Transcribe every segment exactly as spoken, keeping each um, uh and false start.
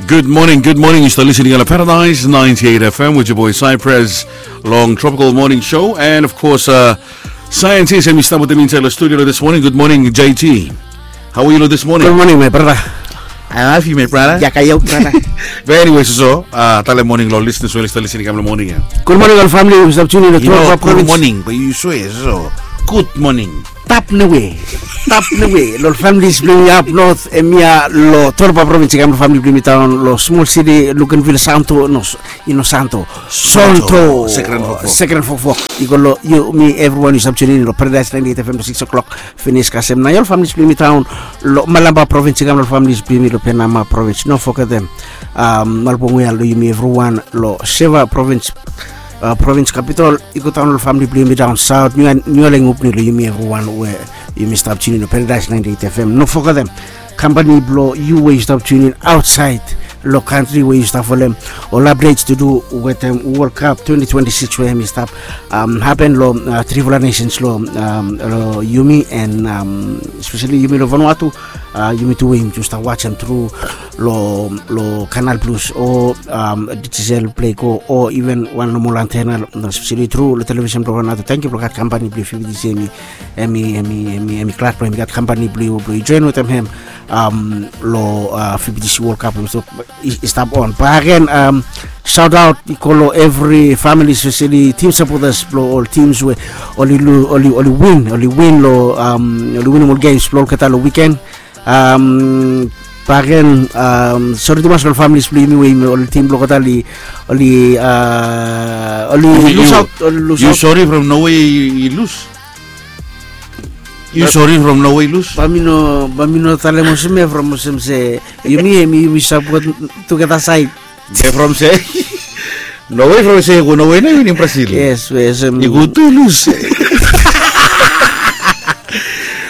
Good morning, good morning. Yu stap listening on Paradise ninety-eight F M with your boy Cypress long Tropical Morning Show. And of course, uh, scientist, em i stap wetem mi inside the studio this morning. Good morning, J T. How are you this morning? Good morning, my brother. I love you, my brother. Yaka yo, brother. But anyway, so, uh, tale morning lo listeners, well, stap listening, kam lo morning, yeah. Good morning, all family. Yu stap tuning in to Toropa Province. Good morning, but you swear, so, good morning. Tap newe. Tap newe. Lo families blong mi up north, em ya lo Toropa Province, kam lo family blong mi down lo small city, Luganville, Santo, no, Ino Santo. Santo. Santo. Second Fofo. Second Fofo. Yu go lo, yu, mi, everyone, yu stap tuning in lo Paradise ninety-eight F M to six o'clock. Finish kasem na yu ol families blong mi down lo Malampa Province, kam lo families blong mi lo Penama Province. No forget them. Um, Malbonguya lo yumi everyone lo Seva Province, uh, Province Capital. Yu go down lo family blong mi down south. Niu, Niu Aleng Upni lo yumi everyone we yumi stap tuning in lo Paradise ninety-eight F M. No forget them. Company blo yu we yu stap tuning in outside lo country we yu stap folem ol updates to do wetem World Cup twenty twenty-six we hemi stap, um, happen lo, uh, trifala nations lo, um, lo yumi and, um, especially yumi lo Vanuatu, uh, yumi tu we yumi tu stap wajem tru lo, lo Canal Plus o, um, Digicel Play Go o even wan nomol antena, especially tru lo television blo Vanuatu. Tangkiu blo gat company blo V B T C hemi, hemi, hemi, hemi, hemi glad blo hemi gat company blo yu, blo yu join wetem hem, um, lo, uh, V B T C World Cup. So, i, i stap on. But again, um, shout out i go lo every family, especially team supporters blo ol teams we oli lu, oli, oli win, oli win lo, um, oli win ol games blo olgeta lo weekend. Um, but again, um, sori tumas lo ol families blo yumi we yumi ol team blo olgeta oli, oli, uh, oli lose out, oli lose out. Yu sori from nowe i lose. Yu sori from nowe i lose. Bae mi no, bae mi no talem olsem ia from olsem se yumi, yumi, yumi support together side. Be from se nowe, from se i go nowe nao i winim Brazil. Yes, we olsem i go tu i lose.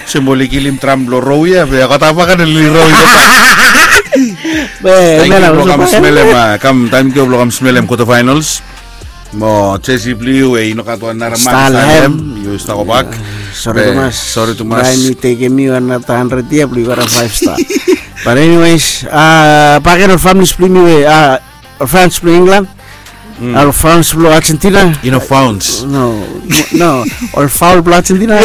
Olsem oli kilim dram blo Rowe ia, be kotavaka na oli Rowe. Be, tangkiu blo kam smelem, uh, kam, tangkiu blo kam smelem quarter finals. Mo Chelsea blo yu we i no gat wan nara man i stap hem. Yu stap gobak. Sori tumas. Sori tumas. Bae mi tekem yu another hundred yia blo yu gat a five star. But anyways, uh, bae gen ol families blo yumi we, uh, ol fans blo England, ol fans blo Argentina. I no fans. No, no, ol foul blo Argentina.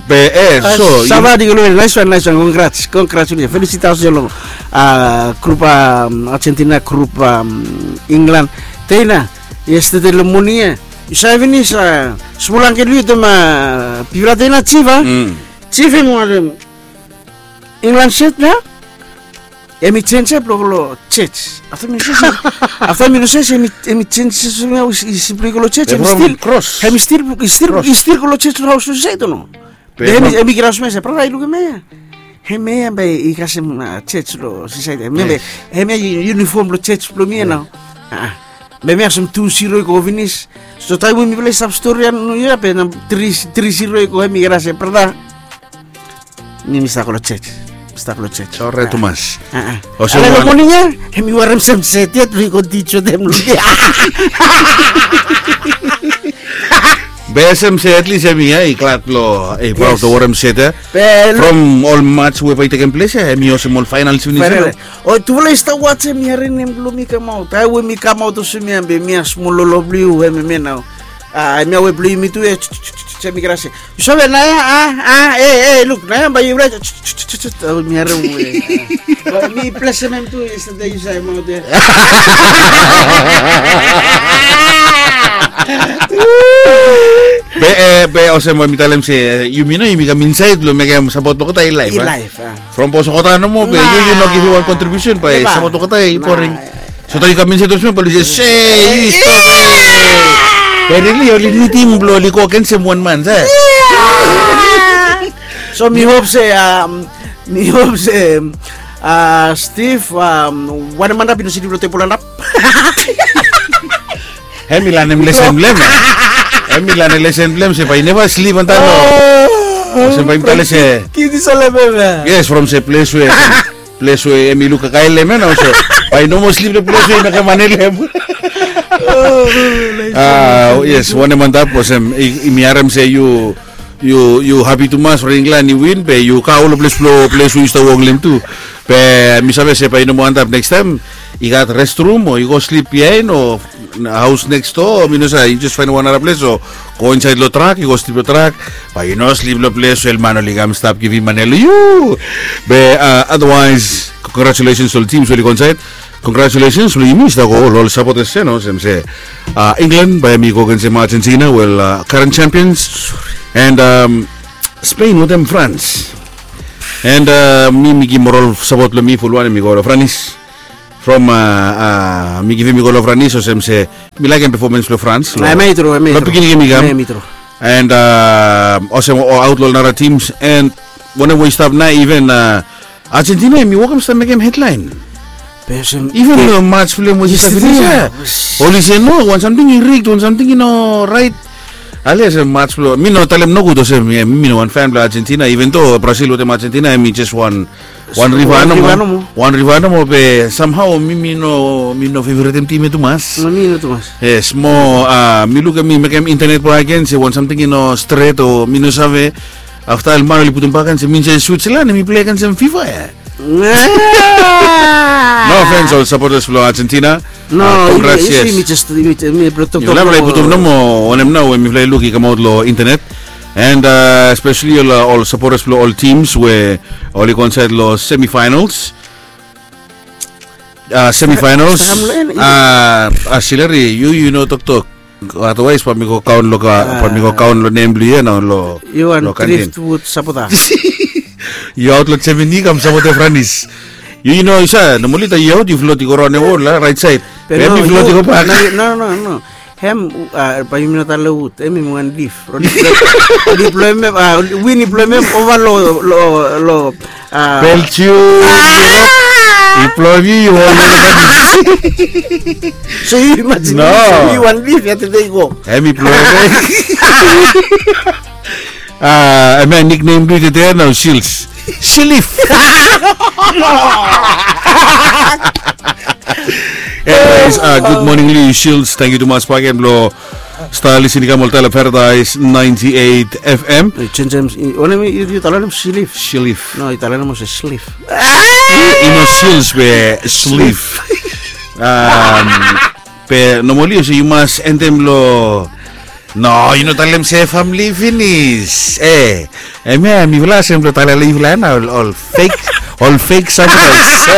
Be, eh, so, savadi go lo, nice one, nice one. Congrats, congrats, felicitations lo, uh, grup, um, Argentina, grup, um, England. Teina, yesterday lo moning ia, yu save finis, uh, smol angkel blo yu, tema, bifala teina, Chief, a? Chief hemi wantem England shirt nao. Hemi jenis ia blo go lo church. Afta mi no save se, afta mi no save se hemi, hemi jenis ia, i stil blo i go lo church, hemi stil, hemi stil, i stil, i stil go lo church lo haos lo Sosaieti o no? Be hemi, hemi graos hemia se, brata, yu lukim hemia. Hemia bae i kasem, uh, church lo Sosaieti. Hemia bae, hemia yu, uniform lo church blo mi ia nao. Ah, ah. Be hemia olsem tu zero i go finis. So taem we mifala i stap stori ia, no ia be na tri, tri zero i go, hemi graos ia, brata. Mi, mi stap go lo church. Mi stap go lo church. Orait tumas. Ah, ah. Olsem lo moning ia, hemi warem sem set ia, blo i go teach wetem lo. Be olsem se at least hemia i glad lo, eh, proud lo warem set ia. From ol match we bae i tekem ples ia, hemi olsem ol finals finis ia. O, tufala i stap wajem, mi harem nem blo mi kamaot. Taem we mi kamaot olsem ia, be mi a smol lolo blo yu, hemia nao. Ah, hemia we blo yumi tu ia, hemi graos ia. Yu save naoia, ah, ah, eh, eh, luk, naoia bae yu, mi harem we. Bae mi blesem hem tu, yesterday yu save maot ia. Be, eh, be olsem bae mi talem se, eh, yumi nao, yumi kam insaed blo mekem sapot blo olgeta i laef, a? I laef, a. From bos olgeta nomo, be yu, yu no givim wan contribution, bae sapot blo olgeta i boring. So taem yu kam insaed olsem, bae oli se, se, yu stap. Be really, oli nidim blo oli go agensem wan man, se. So mi hop se, um, mi hop se, uh, Steve, um, wanem antap i no slip lo tebol antap? Hemi lanem lesen blo hem. Hemi lanem lesen blo hem se bae i neva slip antap lo. Olsem bae mi talem se. Kiti solem hem ia. Yes, from se ples we, ples we hemi luk kakae lo hem ia nao, so bae i no moa slip lo ples we i mekem man i lem. Ah, yes, wanem antap, olsem, i, i, mi harem se yu yu hapi tumas from England i win be yu go long ples blong ples we yu stap wok long hem tu. Be mi save se bae yu no moa antap, nekstaem i gat restrum o yu go slip biaen o haos neks doa, mi no save, yu jes faenem wan nara ples o go insaed long trak, yu go slip long trak. Bae yu no slip long ples we man oli kam stap givim mane long yu. Be otherwise, congratulations long ol teams we oli go insaed. Congratulations long yumi stap go long ol sapotas ya, no, olsem se England bae hemi go agensem Argentina, wel, current champions. And Spain wetem France. And mi mi givim moral sapot blong mi, fulwan hemi go long Franis. From mi givim i go long Franis olsem se mi laekem pefomans blong France long pikinini gem i kam. And olsem aot long ol nara tims. And wanem we i stap nao, iven Argentina hemi wokem stap mekem hedlaen. Iven long mats blong hem we i stap finis ya, oli se no, wan samting i rigged, wan samting i no raet. Ale olsem mats blong, mi no talem nogud olsem mi no wan fan blong Argentina, iven do Brazil wetem Argentina hemi jes wan, wan riva nomo. Wan riva nomo, be samhao mi mi no, mi no feveretem tim ya tumas. Yes, mo mi lukim, mi mekem internet bak agen se wan samting i no stret o mi no save. Afta ol man oli putum bak agen se mi insait Switzerland, mi plei agensem fifa ya. No ofens ol sapotas blong Argentina. No, congrats, yes. Mifala i putum nomo wanem nao we mifala i luk i kamaot long internet. And espeseli ol sapotas blong ol tims we oli go insaed long semifinals. Semifinals. Sileri, yu yu no toktok. Otherwise bae mi go kaon long, bae mi go kaon long nem blong yu ya nao long, yu wan Driftwood sapota. Yu aot long Germany kam sapotem Franis. Yu yu no, yu save, nomali taem yu aot yu flot i go raon long wol, raet saed. Be mi flot i go bak. No no no. Hem, bae yumi no talem wud, hem hemi wan lif. Oli bloem hem, win i bloem hem ova long, long, long Belgium. I bloem hem, yu ol. So yu imajin, yu wan lif ya tede i go. Hem i bloem hem. Hemia niknem blong yu tede ya nao Shilif. Shilif. Anyways, gud moning long yu Shilif. Tangkiu tumas bakegen blong stap lisin i kam oltaem long Paradise ninety eight F M. Yu talem Shilif. Shilif. No, yu talem olsem Shilif. I no Shilif be Shilif. Be nomali olsem yu mas endem long No, yu no talem se famili finis. E, hemia mifala olsem blong talem long yufala ya nao ol fake, ol fake sapotas.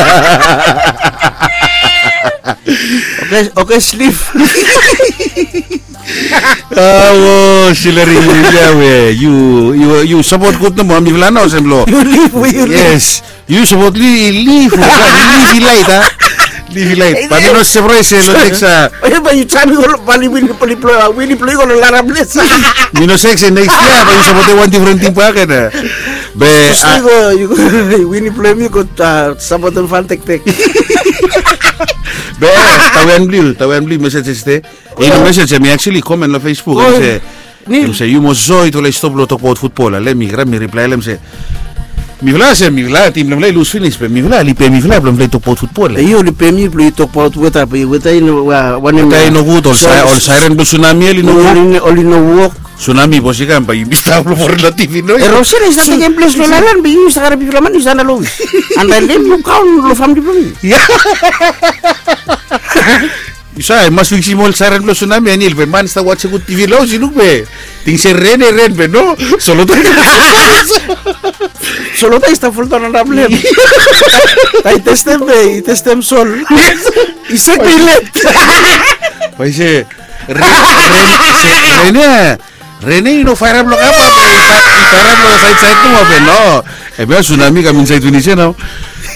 Oke, oke, Shilif. Awo, Shilif, ya we, yu, yu sapot gud nomo mifala nao olsem blong. Yu lif we yu lif. Yes. Yu sapot lif, lif i laet, a? Lif i laet. Bae mi no sapraes se long neks, a? Bae yu taem i go long, bae yu win, win blong yu i go long nara ples. Mi no save se neks yia bae yu sapotem wan difren tim bakegen, a? Be yu go, yu go, win blong yu i go sapotem Fantektek. Be tawen blong yu, tawen blong yu, mesej yestede. I no mesej, hemi actually komen long Facebook. Hemi se, yu mos save, yutufala i stop long tokbaot futbol. Ale mi, mi riplaem se, mifala se mifala, tim blong mifala i lus finis, be mifala, oli pem mifala blong mifala i tokbaot futbol. Yu oli pem mi blong yu tokbaot weta, be weta i no, wanem, weta i nogud, ol sairen blong sunami oli no wok. Oli no wok. Sunami bos i kam, bae yumi stap long foren long T V nois. Erosen i stap tekem ples long laelan, be yu stap karem bigfala man yu stap long. Anda lem yu kaon long famili blong mi. Yu save, i mas fiksim ol sairen blong sunami, Anil, be man i stap wajem gud T V long haos, i luk be ting se ren, e ren be no. Solota, solota i stap foldaon antap long hem. Taem i testem be i testem sol. I sek be i let. Bae i se ren, ren, se ren ya. Ren ya i no faerap long kapa be i faerap long saed saed nomo be no. Hemia sunami i kam insaed finis ya nao.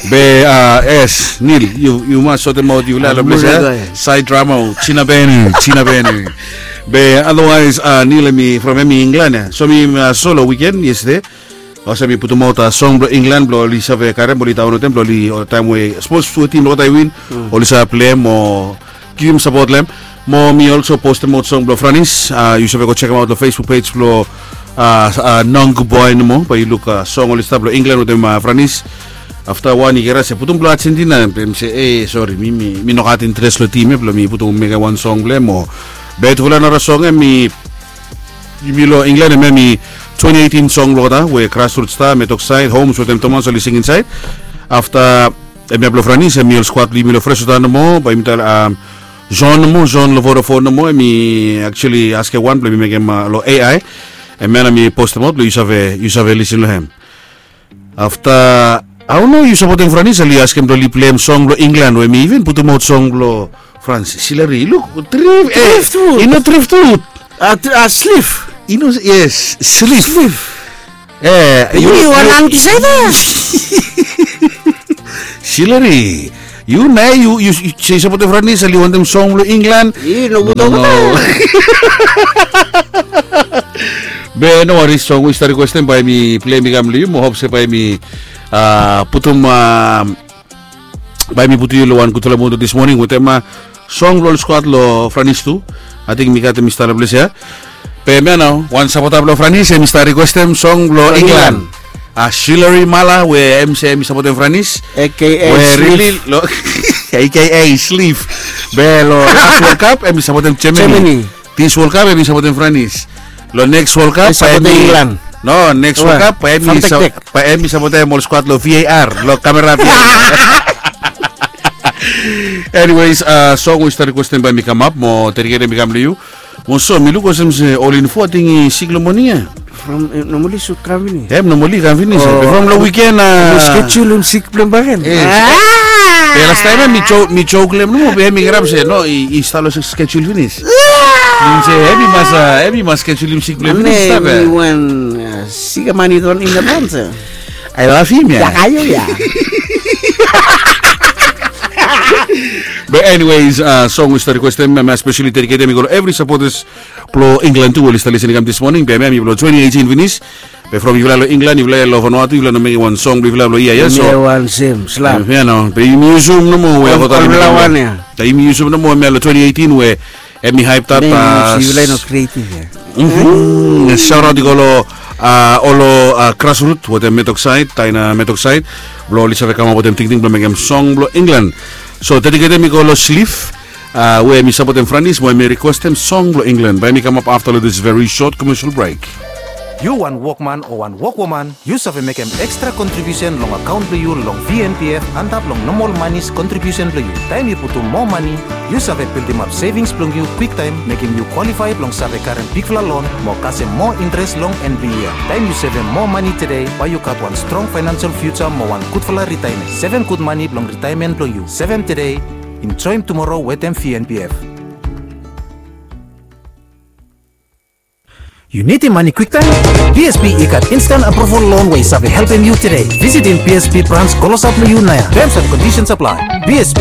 Be, a, yes, Nil, yu, yu mas sotemaot yufala long ples ya. Saed drama o, China Benu, China Benu. Be otherwise, a, Nil hemi from hemi England ya. So mi, a, so long wiken yestede. Olsem mi putumaot, a, song blong England blong oli save karem, oli daonlotem blong oli, o, taem we sapos tu tim blong olgeta i win, oli save pleim o givim sapot long hem. Mo mi olso postemaot song blong Franis. A, yu save go jekemaot long Facebook pej blong, a, Nong Boy nomo, bae yu luk, a, song oli stap long England wetem, a, Franis. Afta wan i kere se putum blong Argentina, be mi se, e, sori, mi, mi, mi no gat interes long tim ya blong mi putum mekem wan song blong hem o. Be tufala nara song ya mi, yumi long England hemia mi twenty eighteen song blong olgeta we Grassroots Star, Metok Saed, Homes wetem Thomas oli sing insaed. Afta hemia blong Franis, hemi ol skuad blong yumi long Fresno Town nomo, bae yumi talem John nomo, John long Vodafone nomo, hemi actually askem wan blong yumi mekem long A I. Hemia nao mi postemaot blong yu save, yu save lisin long hem. Afta, I don't know, yu sapotem Franis, oli askem blong oli pleim song blong England we mi even putumaot song blong Frans. Silari, luk, trif, eh, Driftwood. I no Driftwood. A, tri- a, Slif. I no, yes, Slif. Slif. Eh, yu, yu wan yu- anti saida? Silari, yu nao yu, yu, yu, yu sapotem Franis, oli wantem song blong England. I no, no, buto, no. Be no waris, song we yu stap rikwestem bae mi pleim i kam long yu, mo hop se bae mi, ah, putum, ah, bae mi putum yu long wan gudfala mud dismoning wetem, ah, song blong ol skuad long Franis tu. Ating mi gat hem i stap long ples ia. Be hemia nao, wan sapota blong Franis, hem i stap rikwestem song blong England. England. Ah, Silari Mala, we hem se hem i sapotem Franis. A K A We Slif. Rili long A K A Slif. Be long las World Cup, hem i sapotem Germany. Germany. Dis World Cup, hem i sapotem Franis. Long next World Cup, bae hem i England. No, next World Cup, bae hem i sa- Fantastic. Bae hem i sapotem ol skuad long V A R, long kamera V A R. Anyways, ah, song we yu stap rikwestem bae mi kamap, mo dediketem i kam long yu. Mo so, mi luk olsem se ol info ating i sik long moning ia. From, eh, normally should kam finis. Hem, normally kam finis. Oh. From long wiken, ah, schedule hem sik blong hem bakegen. Yes. Ah. Be lastaem ia mi jok, mi jok long hem nomo, be hem i kirap se, no, i, i stap long schedule finis. Ah. Hem i mas, ah, hem i mas schedule hem sik blong hem finis, stap ia. Wan, ah, sik man i don in advance. I love him ia. Ia, kayo ia. Be anyways, ah, song we yu stap rikwestem, mi especially dediketem i go long evri sapotas blong England tu, oli stap lisin i kam dismoning, be hemia hemi blong twenty eighteen finis. Be from yufala long England, yufala long Vanuatu, yufala no mekem wan song blong yufala blong yia ia, so. Hemia wan sem, slap. Hemia nao, be yumi yusum nomo we ol, ol wan ia. Be yumi yusum nomo hemia long twenty eighteen we hemi hyped up, ah, yufala no creative ia. Mhm. Shout out i go long, ah, ol, ah, Grassroot wetem Metok Saed, Taina Metok Saed, blong oli save kamap wetem tingting blong mekem song blong England. So, dediketem i go long Slif, ah, we hemi sapotem Franis, mo hemi rikwestem song blong England. Bae hemi kamap afta long this very short commercial break. Yu wan wokman o wan wokwoman, yu save mekem ekstra kontribiusen long akaon blong yu long V N P F antap long nomol manis kontribiusen blong yu. Taem yu putum moa mani, yu save bildimap sevings blong yu kwiktaem, mekem yu kwalifae blong save karem bigfala lon mo kasem moa intres long en blong yia. Taem yu sevem moa mani tede, bae yu gat wan strong faenansel fiuja mo wan gudfala ritaemen. Sevem gud mani blong ritaemen blong yu. Sevem tede, enjoem tumoro wetem V N P F. Yu nidim mani kwiktaem? B S P i gat instant approval loan we i save helpem yu tede. Visitim B S P brans klosap long yu naoia. Terms and conditions apply. B S P.